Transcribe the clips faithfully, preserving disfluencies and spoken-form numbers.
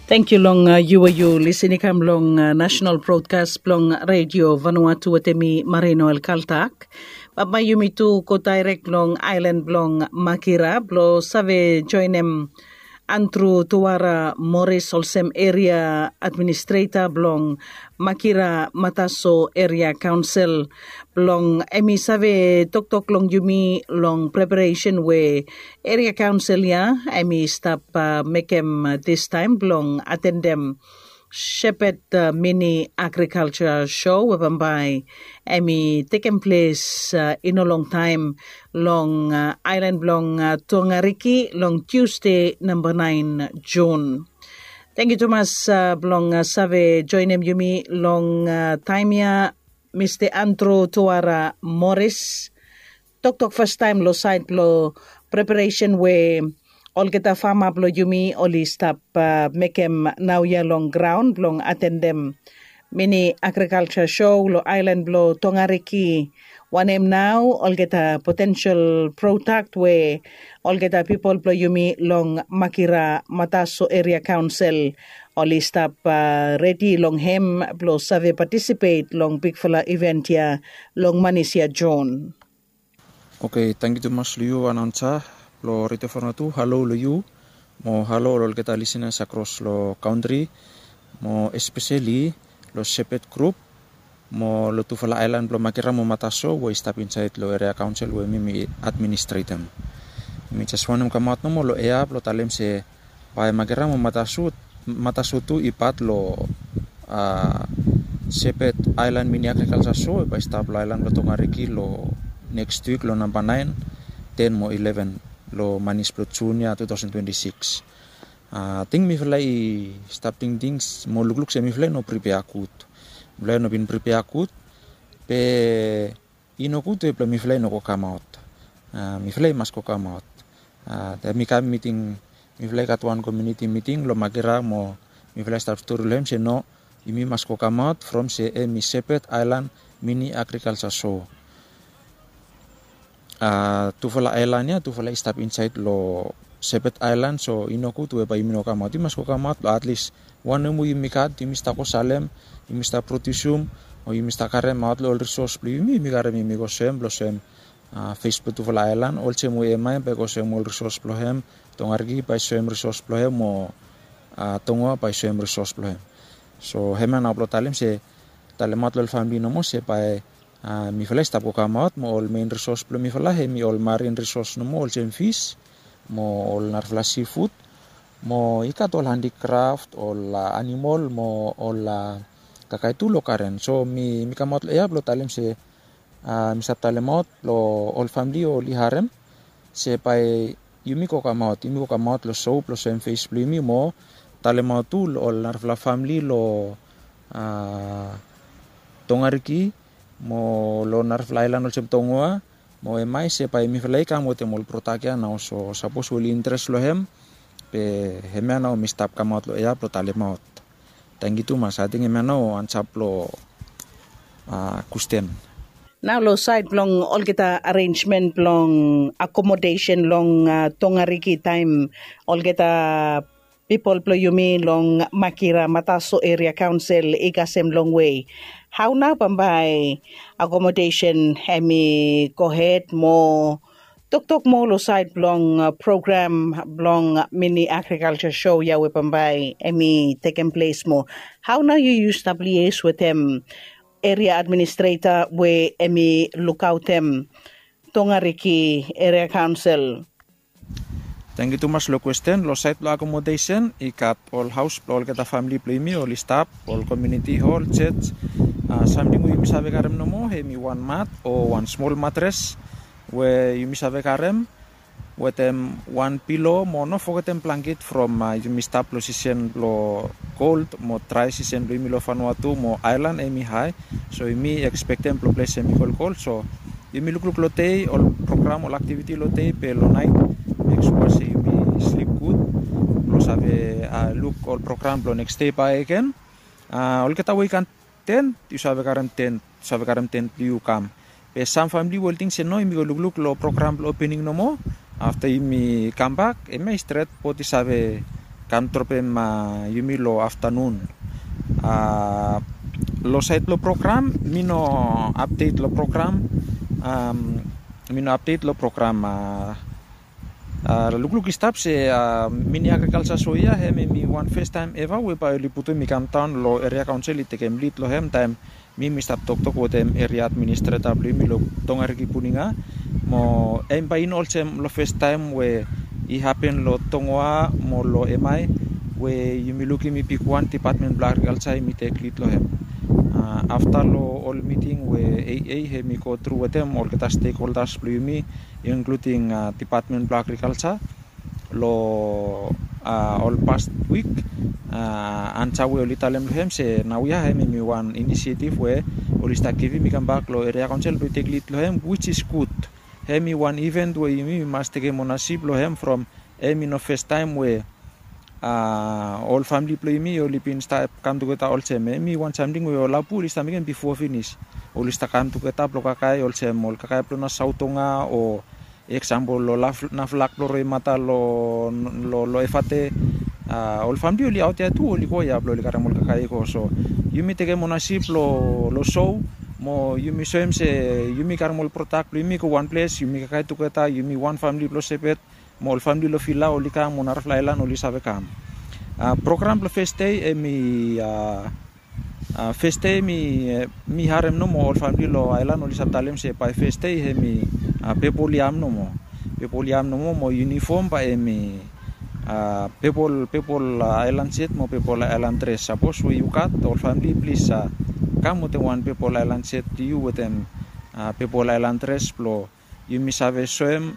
Tangkiu long yu we yu lisin i kam long nasenal brodkas blong redio Vanuatu wetem mi Marino El Kaltak. Bambae yumi tu go daerek long aelan blong Makira blong save joenem Andru Tuara Moris olsem eria administreta blong Makira Mataso Eria Kaonsel blong em i save toktok long yumi long preparesen we eria kaonsel ya em i stap mekem distaem blong atendem Shepherd Mini Agriculture Show we bambae em i tekem ples i no longtaem long aelan blong Tongariki long Tusde namba naen Jun. Tangkiu tumas blong save joenem yumi long taem ya, Mista Andru Tuara Moris. Toktok fastaem long saed blong preparesen we olgeta fama blong yumi oli stap mekem naoia long graon blong atendem mini agrikalsa show long aelan blong Tongariki. Wanem nao olgeta potensel prodak we olgeta pipol blong yumi long Makira Mataso Eria Kaonsel oli stap redi long hem blong save patisipet long bigfala iven ya long manis ya Jon. Oke, tangkiu tumas long yu anaonsa blong redio Vanuatu. Halo long yu mo halo long olgeta lisenas akros long kantri mo espeseli long Sepet grup mo long tufala aelan blong Makira mo Mataso we i stap insaed long eria kaonsel we mi mi administretem. Mi jes wantem kamaot nomo long ea blong talem se bae Makira mo Mataso tu i pat long Sepet Aelan Mini Agrikalsa Show we bae i stap long aelan blong Tongariki long neks wik long namba naen, ten mo ileven long manis blong Jun ya tu taosen twenti sikis. Ating mifala i stap tingting mo lukluk se mifala i no pripea gud. Mifala i no bin pripea gud, be i no gud we blong mifala i no go kamaot. Mifala i mas go kamaot. Taem mi kam miting, mifala i gat wan komuniti miting long Makira mo mifala i stap stori long hem se no, yumi mas go kamaot from se hem i Sepet Aelan Mini Agrikalsa Show. Tufala aelan ya tufala i stap insaed long Sepet Aelan, so i no gud we bae yumi no kamaot. Yumi mas go kamaot long atlis wanem we yumi gat yumi stap go salem, yumi stap prodiusum o yumi stap karemaot long ol risos blong yumi. Yumi karem, yumi go soem blong soem fes blong tufala aelan olsem we Emae bae i go soem ol risos blong hem, Tongariki bae i soem risos blong hem mo Tongoa bae i soem risos blong hem. So hemia nao blong talem se, talemaot long ol famili nomo se bae mifala i stap go kamaot mo ol mein risos blong mifala hem i ol marin risos nomo olsem fis mo ol narafala sifud mo i gat ol handikraf, ol animol mo ol kakae tu long garen. So mi kamaot long ea blong talem se mi stap talemaot long ol famili oli harem se bae yumi go kamaot, yumi go kamaot long show blong soem fes blong yumi mo talemaot tu long ol narafala famili long Tongariki mo long narafala aelan olsem Tongoa mo Emae se bae mifala i kam wetem ol prodak ya nao. So sapos we oli interes long hem, be hemia nao mi stap kamaot long ea blong talemaot. Tangkiu tumas. Ating hemia nao ansa blong kwesten. Nao long saed blong olgeta arenjmen blong akomodesen long Tongariki taem olgeta pipol blong yumi long Makira Mataso Eria Kaonsel i kasem longwe, hao nao bambae akomodesen hem i gohed mo toktok moa long saed blong program blong Mini Agrikalsa Show ya we bambae hem i tekem ples moa? Hao nao yu yu stap lies wetem eria administreta we hem i lukaotem Tongariki Eria Kaonsel? Tangkiu tumas long kwesten. Long saed blong akomodesen i gat ol haos blong olgeta famili blong yumi oli stap, ol komuniti hol, jej, samting we yumi save karem nomo hem i wan mat o wan smol matres we yumi save karem wetem wan pilo mo no fogetem blangket from yumi stap long sisen blong kold mo drae sisen blong yumi long Vanuatu mo aelan hem i hae. So yumi ekspektem blong ples hem i kolkol. So yumi lukluk long dei ol program, ol aktiviti long dei, be long naet mek sua se yumi slip gud blong save luk ol program blong neks dei bakegen. Olgeta we i gat tent, yu save karem tent, yu save karem tent blong yu kam. Be sam famili we oli ting se no, yumi go lukluk long program blong opening nomo. Afta yumi kambak hemia i stret, bot i save kam dropem yumi long aftanun. Long saed blong program mi no apdet long program. Mi no apdet long program. Lukluk i stap se mini agrikalsa so ya hem em i wan festaem eva we bae oli putum i kamdaon long eria kaonsel i tekem lid long hem taem mi mi stap toktok wetem eria administreta blong yumi long Tongariki Puninga. Mo em bae i no olsem long festaem we i hapen long Tongoa mo long Emae we yumi lukim i bigwan dipatmen blong agrikalsa i mi tek lid long hem. Afta long ol miting we AA hem i go tru wetem olgeta stekholdas blong yumi, inkluding dipatmen blong agrikalsa, long ol past wik, ansa we oli talem long hem se naoia hem i wan inisietif we oli stap givim i kambak long eria kaonsel blong i tek lid long hem, wits is gud. Hem i wan iven we yumi mas tekem onasip long hem from hem i no festaem we ol famle blong yumi oli bin stap kam tugeta olsem. Hem i wan samting we ol abu oli stap mekem bifo finis. Oli stap kam tugeta blong kakae olsem ol kakae blong na Saotonga o eksampol long Naflak blong Roimata long Efate. Ol famle oli aot ya tu oli go ya blong oli karem ol kakae i go. So yumi tekem onasip long sou mo yumi soem se yumi karem ol prodak blong yumi i go wan ples, yumi kakae tugeta, yumi wan famle blong Sepet mo ol famle long Vila oli kam, mo narafala aelan oli save kam. Program blong fes dei hem i fes dei mi harem nomo ol famle long aelan oli save talem se bae fes dei hem i pepol yam nomo. Pepol yam nomo mo yunifom bae hem i pepol, pepol aelan set mo pepol aelan dres. Sapos we yu gat, ol famle plis kam wetem wan pepol aelan set blong yu wetem pepol aelan dres blong yumi save soem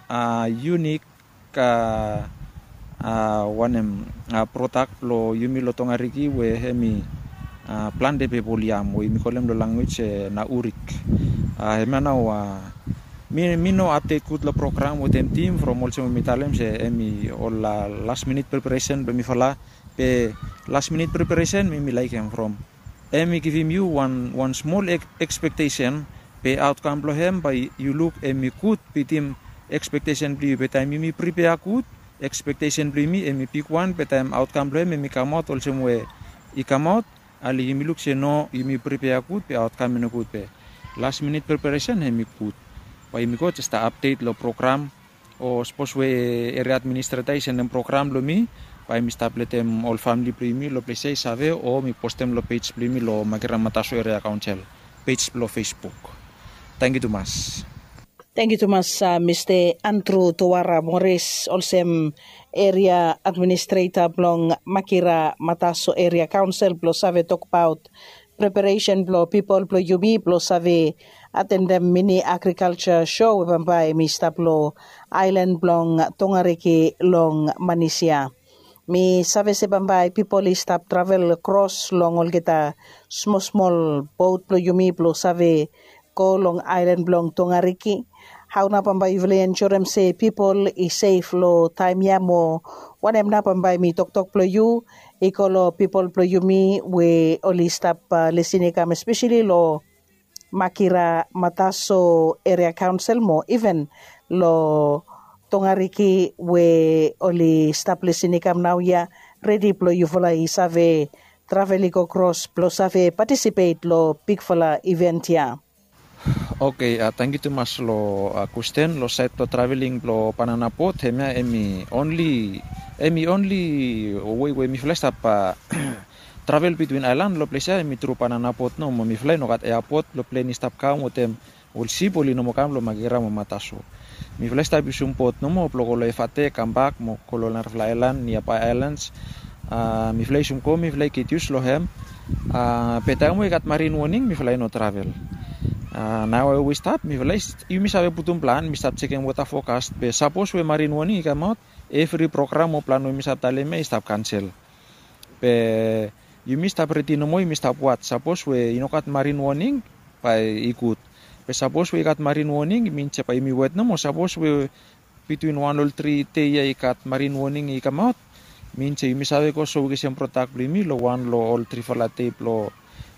yunik wanem, prodak blong yumi long Tongariki we hem i plante pepol yam we yumi kolem long lanwis se na urik. Hemia nao mi no apdet gud long program wetem tim from olsem we mi talem se hem i ol las minit preparesen blong mifala. Be las minit preparesen mi mi laekem from hem i givim yu wan smol ekspektesen, be aotkam blong hem bae yu luk hem i gud bitim ekspektesen blong yu. Be taem yumi pripea gud, ekspektesen blong yumi hem i bigwan, be taem aotkam blong hem hem i kamaot olsem we i kamaot, ale yumi luk se no, yumi pripea gud be aotkam i nogud. Be las minit preparesen hem i gud. Bae yumi go jes stap apdet long program, o sapos we eria administreta i sendem program long mi, bae mi stap letem ol famle blong yumi long ples ya i save, o mi postem long pej blong yumi long Makira Mataso Eria Kaonsel pej blong Facebook. Tangkiu tumas. Tangkiu tumas, Mista Andru Towara Moris, olsem eria administreta blong Makira Mataso Eria Kaonsel blong save tokbaot preparesen blong pipol blong yumi blong save atendem mini agrikalsa so we bambae hem i stap long aelan blong Tongariki long Manisia. Mi save se bambae pipol i stap travel kros long olgeta smol smol bot blong yumi blong save go long aelan blong Tongariki. Hao nao bambae yufala i ensurem se pipol i sef long taem ya mo wanem nao bambae mi toktok blong yu i go long pipol blong yumi we oli stap lisin i kam espeseli long Makira Mataso Eria Kaonsel mo iven long Tongariki we oli stap lisin i kam naoia, redi blong yufala i save travel i go kros blong save patisipet long bigfala iven ya. Oke, tangkiu tumas long kwesten. Long saed blong traveling blong banana bot, hemia hem i onli, hem i onli wei we mifala i stap travel bitwin aelan long ples ya hem i tru banana bot nomo. Mifala i no gat eapot blong plen i stap kam wetem ol sip oli no moa kam long Makira mo Mataso. Mifala i stap yusum bot nomo blong go long Efate kambak mo go long narafala aelan, niabae aelans. Mifala i yusum go, mifala i gud yus long hem. Be taem we i gat marin woning mifala i no travel. Nao we i stap mifala i, yumi save putum plan, mi stap jekem weta fokas, be sapos we marin woning i kamaot, evri program o plan we mi stap talem ya i stap kansel. Be yumi stap redi nomo, yumi stap waj. Sapos we i no gat marin woning, bae i gud. Be sapos we i gat marin woning, i min se bae yumi wet nomo. Sapos we bitwin wan ol tri dei ya i gat marin woning i kamaot, min se yumi save go soem olsem prodak blong yumi long wan long ol trifala dei blong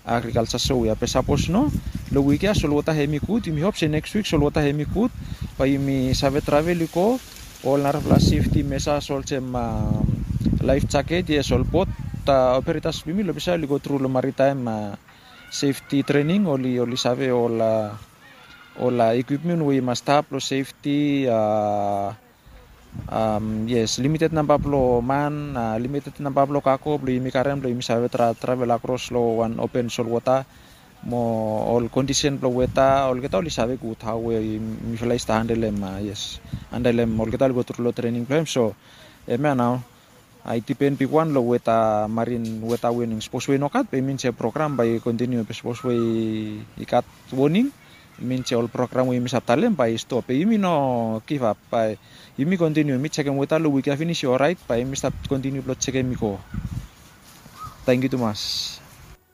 agrikalsa so ya. Be sapos no, long wik ya solwota hem i gud, yumi hop se neks wik solwota hem i gud, bae yumi save travel i go ol narafala sefti mesas olsem Life jacket, yes, ol bot operators blong yumi long Bisao oli go tru long maritaem safety training, oli oli save ol ol equipment we i mas stap long safety. Yes, limited namba blong man, limited namba blong kako blong yumi karem blong yumi save travel akros long wan open solwota. Mo ol kondisen blong weta olgeta oli save gud hao we mifala i stap handelem. Yes, handelem olgeta oli go tru long trening blong hem. So hemia nao i dipen bigwan long weta marin weta wening. Sapos we i no gat bae i min se program bae i kontiniu, be sapos we i gat woning, i min se ol program we yumi save talem bae i stop. Be yumi no givap, bae yumi kontiniu. Mi jekem weta long wik ya finis i oraet, bae yumi stap kontiniu blong jekem i go. Tangkiu tumas.